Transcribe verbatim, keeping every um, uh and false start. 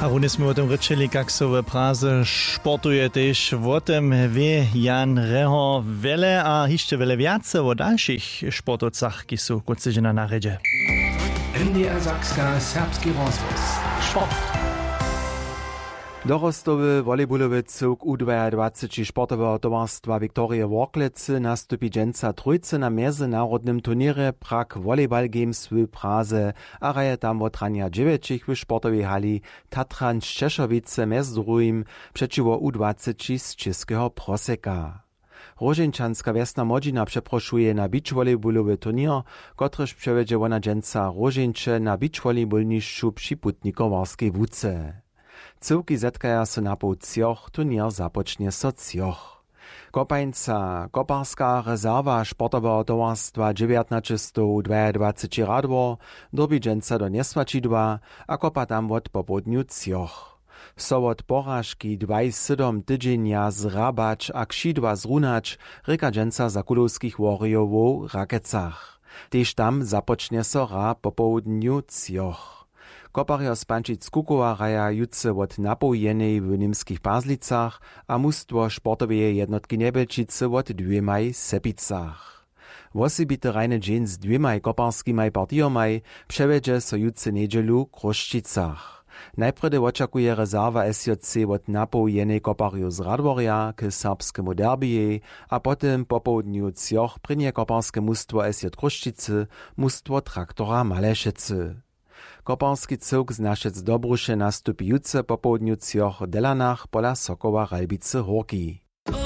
A runje smy wo tym rěčeli, kak so w Praze sportuje, tež wo tym wě Jan Rehor wjele a hišće wjele wjace wo dalšich sportowcach, kiž su kónc tydźenja na rjedźe. N D R Sakska, serbski rozhłos. Sport. Dorostowy volejbolowy cyłk U dwajadwaceći sportoweho towarstwa Viktorije Worklecy nastupi dźensa trójce na mjezynarodnym turněrje Prague Volleyball Games w Praze a hraje tam wot ranja dźewjećich w sportowej hali Tatran Sćešowice mjez druhim přećiwo U dwaceći z Čěskeho Proseka. Róžeńčanska wjesna młodźina přeprošuje na beachvolleybolowy turněr, kotryž přewjedźe wona dźensa Róžeńče na beachvolleybólnišću při Putnikowarskej łuce. Cyłki zetkaja so napoł třoch, turněr započnje so třoch. Kopańca, koparska rezerwa sportoweho towarstwa dźewjatnaćestow dwajadwaceći Radwor, dyrbi dźensa do Njesłaćidła a kopa tam wot popołdnju třoch. So wot poražki dwaj sydom tydźenja zhrabać a křidła zrunać, rěka dźensa za kulowskich Worjowow w Rakecach. Tež tam započnje so hra popołdnju třoch. Koparjo z Pančic Kukowa hraja jutře wot napoł jenej w Němskich Pazlicach a mustwo sportoweje jednotki Njebjelčicy wot dwěmaj w Sepicach. Wosebity hrajny dźeń z dwěmaj koparskimaj partijomaj přewjedźe so jutře njedźelu w Chrósćicach. Najprjedy wočakuje rezerwa S J C wot napoł jenej koparjow z Radworja k serbskemu derbijej a po tym popołdnju třoch prěnje koparske mustwo S J Chrósćicy mustwo Traktora Malešecy. Koparski cyłk z Našec Dobruše nastupi jutře popołdnju třoch w Delanach pola Sokoła Ralbicy Hórki.